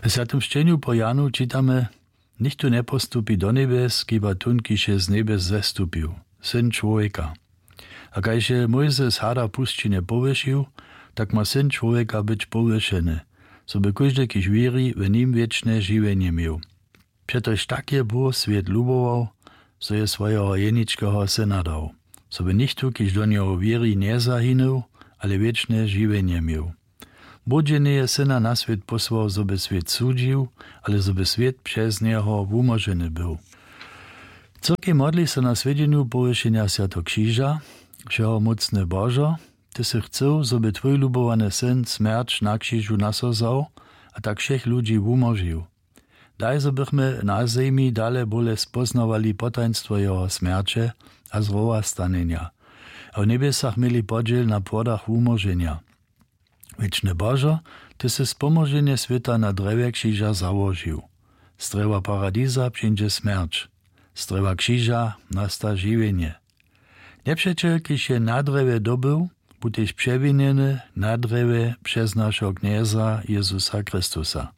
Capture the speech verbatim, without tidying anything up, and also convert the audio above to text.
W Swjatym Sćenju po Janu čitamy: „Nichtó njepostupi do njebjes, kiba tón, kiž je z njebjes zestupił, Syn čłowjeka. A kaž je Mójzes hada w pusćinje powyšił, tak ma Syn čłowjeka być powyšeny, zo by kóždy, kiž wěri w nim, wěčne žiwjenje měł. Přetož tak je Bóh swět lubował, zo je swojeho jeničkeho Syna dał, zo by nichtó, kiž do njeho wěri, njezahinył, ale wěčne žiwjenje měł. Bóh dźě njeje Syna na swět posłał, zo by swět sudźił, ale zo by swět přez njeho wumóženy był.“ Cyrkej modli so na swjedźenju powyšenja Swjateho Křiža: „Wšehomócny Božo, ty sy chcył, zo by twój lubowany Syn smjerć na křižu na so wzał a tak wšěch ludźi wumóžił. Daj, zo bychmy na zemi dale bóle spóznawali potajnstwo jeho smjerće a zrowastanjenja a w njebjesach měli podźěl na płodach wumóženja. Wěčny Božo, ty sy spomóženje swěta na drjewje křiža załožił. Z drjewa paradiza přińdźe smjerć, z drjewa křiža nasta žiwjenje. Njepřećel, kiž je na drjewje dobył, bu tež přewinjeny na drjewje přez našeho Knjeza Jezusa Chrystusa.